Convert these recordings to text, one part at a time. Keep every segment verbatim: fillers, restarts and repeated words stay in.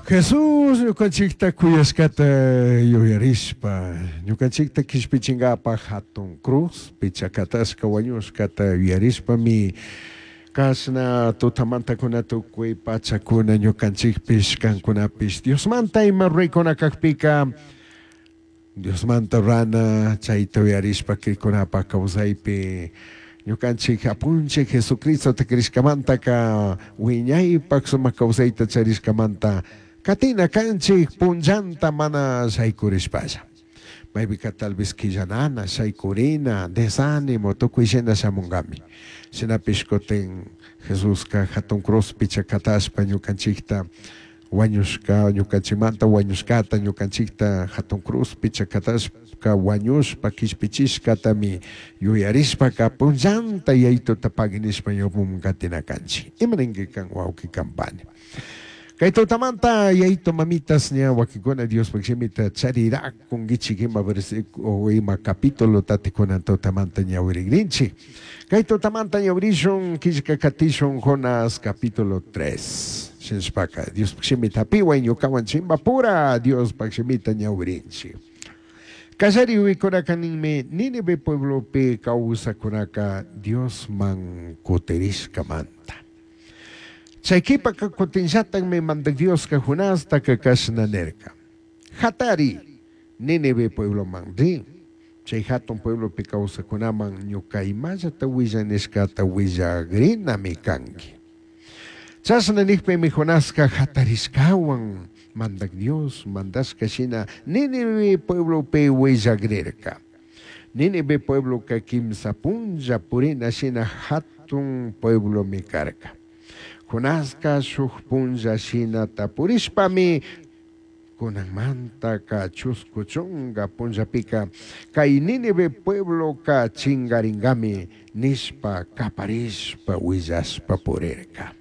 Jesús ñukanchikta kuyashkata yuyarishpa, ñukanchikta kishpichinkapaj hatun cruz pichakatashka wañushkata yuyarishpami kashna tutamantakuna tukuy pachakuna ñukanchikpish kankunapish Diosmanta ima ruraykuna kakpika Diosmanta rurana chayta uyarishpa krikunapaj kawsaypi ñukanchik apunchik Jesucristota krishkamantaka wiñaypak sumak kawsayta charishkamanta katina kanchik punllanta mana shaykurishpalla. Maypika tal vez quillanana, shaykurina, desánimo, tukuy shina shamunkami. Shinapish kutin Jesuska hatun cruzpi chakatashpa ñukanchikta wañushka ñukanchikmanta wañushkata ñukanchikta hatun cruzpi chakatashpa wañushpa kishpichishkatami yuyarishpaka punllanta yaytuta pagui nishpa ñawpaman katina kanchik. Ima ninki kan wawqi kampani. Kay tutamanta yaytu mamitas ña wakinkuna Diospaj shimita charirakunkichik ima versículo ima capítulo tatikunan tutamanta ñawirikrinchik. Kay tutamanta ñawirishun killka katishun Jonás capítulo tres. Shinashpaka Diospaj shimita hapiwan ñukawan chimbapura Diospaj shimita ñawirinchik. Kallari uykunaka ninmi Nínive pueblopi kawsakunaka Diosman kutirishkamanta. Chay qhipaka kutinllatakmi mandak Dioska Jonastaka kashna nirka. Hatari Nínive puebloman ri. Chay hatun pueblopi kawsakunaman ñuka imallata willanishkata willagrinami kanki. Chashna nijpimi Jonaska hatarishkawan mandak Dios mandashka shina Nínive pueblopi willagrirka. Nínive puebloka kimsa punlla purina shina hatun pueblomi karka. Jonaska shuk punlla shinata purishpami kunanmantaka chusku chunka punllapika kay Nínive puebloka chingaringami nishpa kaparishpa willashpa purirka.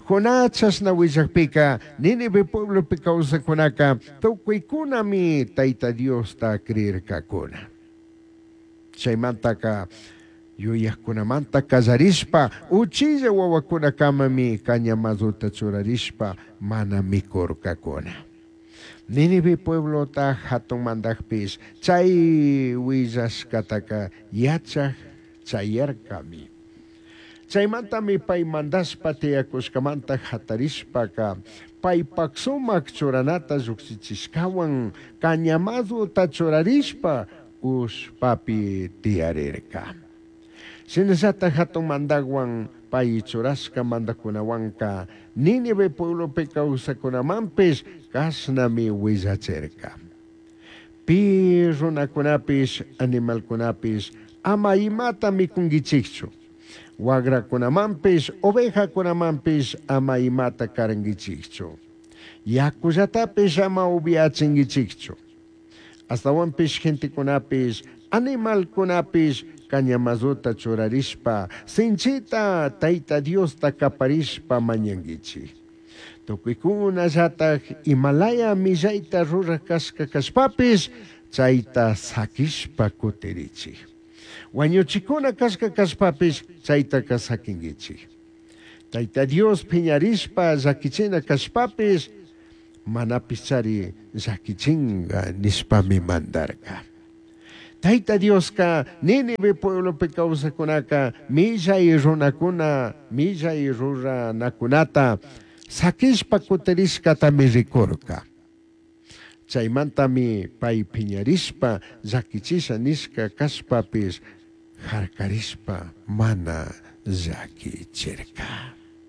Jonás chashna willakpika Nínive pueblopi kawsakunaka tukuykunami Tayta Diosta creerkakuna. Chaymantaka yuyakkunamanta kallarishpa uchilla wawakunakamami cañamazuta churarishpa mana mikurkakuna. Nínive pueblota hatun mandakpish chay willashkataka yachaj chayarkami. Chaymantami pay mandashpa tiyakushkamanta hatarishpaka paypak sumak churanata llukshichishkawan cañamazuta churarishpa ushpapi tiyarirka. Shinallata hatun mandakwan pay churashka mandakunawanka Nínive pueblopi kawsakunamanpish kashnami willachirka. Pi runakunapish animalkunapish ama imata mikunkichikchu. Wagrakunamanpish ovejakunamanpish ama imata karankichikchu. Yakullatapish ama upiachinkichikchu. Astawanpish gentekunapish animalkunapish cañamazuta churarishpa sinchita Tayta Diosta kaparishpa mañankichik. Tukuykunallataj imalaya millayta ruraj kashka kashpapish chayta sakishpa kutirichik. Wañuchikuna kashka kashpapish chaytaka sakinkichik. Tayta Dios phiñarishpa llakichina kashpapish manapish chari llakichinga nishpami mandarka. Tayta Dioska Nínive pueblopi kawsakunaka millay runakuna millay ruranakunata sakishpa kutirishkatami rikurka. Chaymantami pay phiñarishpa llakichisha nishka kashpapish harkarishpa mana llakichirka.